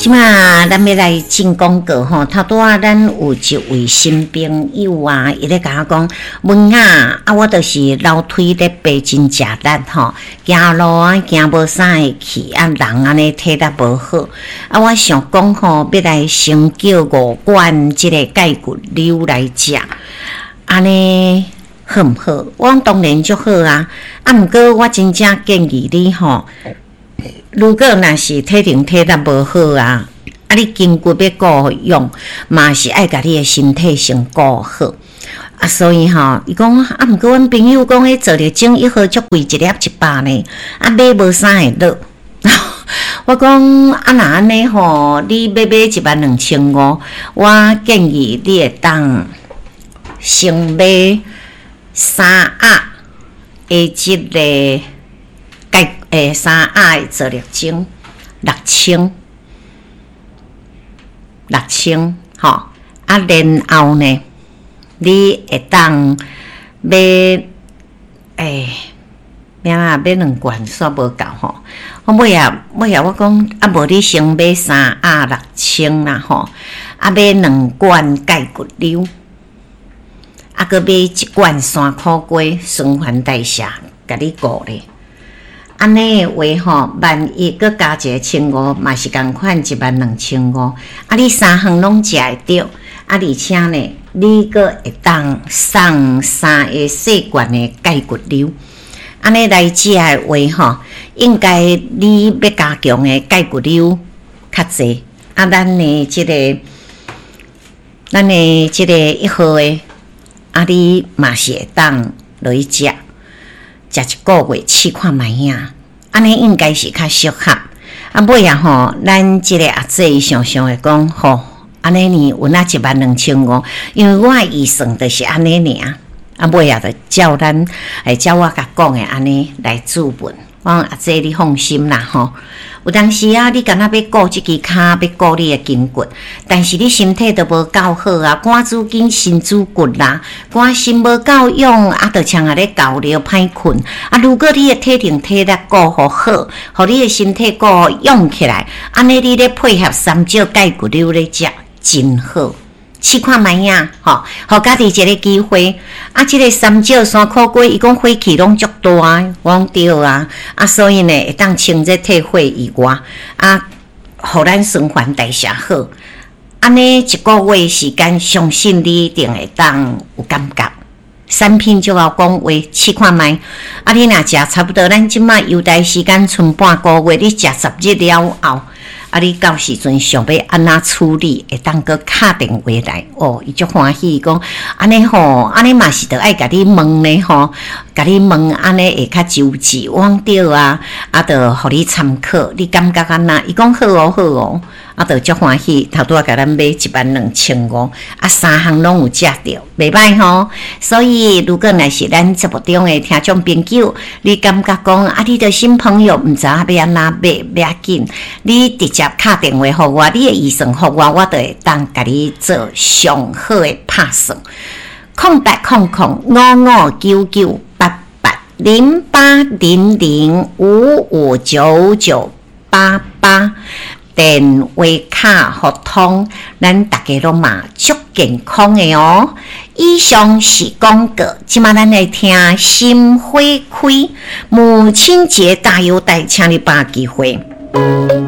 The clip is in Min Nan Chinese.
這馬咱欲來進廣告吼，頭拄仔咱有一位新朋友啊，伊咧共我講，文啊，啊我就是樓梯咧爬真食力吼，行路啊行無啥會去，啊人按呢體力無好，啊我想講吼，欲來先叫五罐這个鈣骨溜來食，按呢好毋好？我講當然足好啊，啊毋過我真正建議你吼，如果若是體能體力無好啊，啊你筋骨欲顧勇，嘛是愛共你的身體先顧好。啊，所以吼，伊講啊，毋過阮朋友講，彼做力整一盒足貴，一粒100呢，啊買無啥會落。我講啊，若按呢吼，你欲買12,500，我建議你會當先買三盒的這个鈣三盒的做力整六千六千吼，啊然後呢，你會當買咩啊？買兩罐煞無夠吼。我尾仔尾仔我講啊，無你先買三盒六千啦吼，啊買兩罐鈣骨溜，啊閣買一罐山苦瓜，循環代謝，共你顧咧。按呢的話吼，萬一閣加一个千五，嘛是仝款12,500。啊，你三項攏食會著，啊，而且呢，你閣會當送三个細罐的鈣骨溜。按呢來食的話吼，應該你欲加強的鈣骨溜較濟。啊，咱的這个一號的，啊，你嘛是會當落去食，食一個月試看覓仔，按呢應該是較適合。啊，尾仔吼，咱這个阿姐伊想想會講吼，按呢呢有那12,500，因為我的預算就是按呢爾。啊，尾仔就照咱會照我共講的按呢來注文。我講阿姐你放心啦吼，有當時啊，你敢若欲顧這支跤，欲顧你的筋骨，但是你身體都無夠好啊，肝主筋，心主骨啦，肝心無夠勇，啊，就像啊咧熬夜歹睏。啊，如果你的體能體力顧予好，予你的身體顧勇起來，按呢你咧配合三招鈣骨溜咧食，真好。試看覓仔吼，予家己一个機會。啊，這个三招山苦瓜，伊講火氣攏足大，我講對啊。啊，所以呢，會當清熱退火以外，啊，予咱循環代謝好。按呢一個月時間，相信你一定會當有感覺。產品就𠢕講話，試看覓。啊，你若食差不多，咱這馬優待時間賰半個月，你食10日了後，啊，你到時陣想欲按怎處理，會當閣敲電話來哦，伊足歡喜講，按呢吼，按呢嘛是著愛共你問呢吼，共你問按呢會較周至。我講對啊，啊，著予你參考，你感覺按怎？伊講好哦，好哦，啊，著足歡喜，頭拄仔共咱買12,500，啊，三項攏有食著，袂䆀吼。所以，如果若是咱節目中的聽眾朋友，你感覺講啊，你的新朋友毋知影欲按怎買，欲要緊，你直接敲電話予我，你的預算予我，我就會當共你做上好的拍算。08005599880800559988，電話卡互通，咱逐家攏嘛足健康的哦。以上是廣告，這馬咱來聽心花開，母親節大優待，請你把握機會。